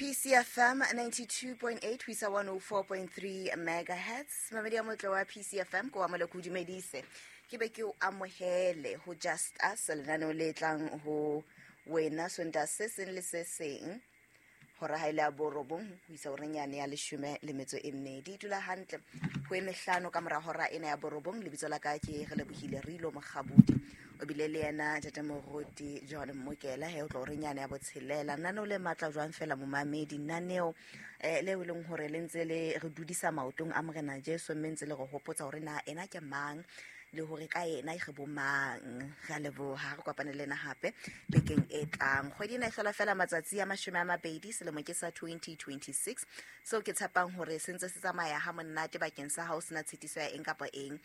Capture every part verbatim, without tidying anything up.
P C F M ninety-two point eight ho isa one oh four point three megahertz. Mamedi ya motle wa P C F M, ko wa mole ko dumedise, ke be ke o amohele ho Just Us, lenaneo le tlang ho wena Sontaha se seng le se seng hora ha ile ya borobong ho isa horeng yane ya leshome le metso e mmedi. Dula hantle ho e mehlano ka mora hora ena ya borobong. Lebitso la ka ke Re Lebohile Rilo Mokgabudi, o bile le yena ntate Moruti John Mmokela he o tlo horeng yane ya botshelela. Naneo le matla jwang fela, momamedi, naneo eh, leo e leng hore le ntse le re dudisa maotong a Morena Jesu, mme ntse le re hopotsa hore na ena ke mang le hore ka ena re bo mang. Re a leboha, re kopane le ena hape bekeng e tlang. Kgwedi ena e hlola fela matsatsi a mashome a mabedi, selemo ke sa twenty twenty-six, seo ke tshepang hore se ntse se tsamaya ha monate bakeng sa hao, sena tshitiso ya eng kapa eng.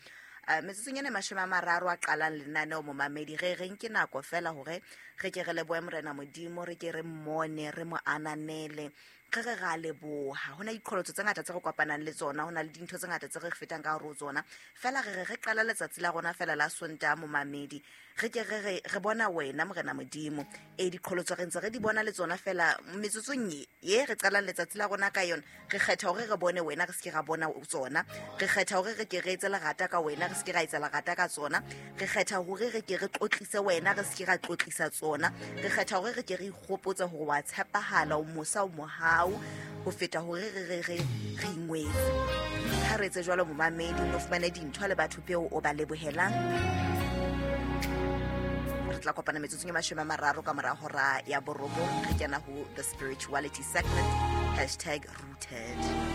Uh, metsotsong ena mashome a mararo a qalang lenaneo, momamedi, re reng ke nako fela hore re ke re lebohe Morena Modimo, re ke re mmone, re mo ananele, re re ra leboha. Ho na diqholotso tse ngata tse re kopanang le tsona, ho na le dintho tse ngata tse re fetang ka hare ho tsona, fela re re re qala letsatsi la rona fela la Sontaha, momamedi, re ke re re re bona wena Morena Modimo. E diqholotso re ntse re di bona le tsona, fela metsotsong ye ye re qalang letsatsi la rona ka yona, re kgetha hore re bone wena, re se ke ra bona tsona. Re kgetha hore re ke re etse lerata ka wena, re se ke ra etsa lerata ka tsona. Re kgetha hore re ke re tlotlise wena, re se ke ra tlotlisa tsona. Re kgetha hore re ke re ikgopotse hore wa tshepahala, o mosa, o mohau, ho feta hore re re re re ingwetse. Ha re etse jwalo, momamedi, o no fumane dintho le batho peo o ba lebohelang. Re tla kopana metsotsong e mashome a mararo ka mora hora ya borobong, re kena ho the spirituality segment, hashtag rooted.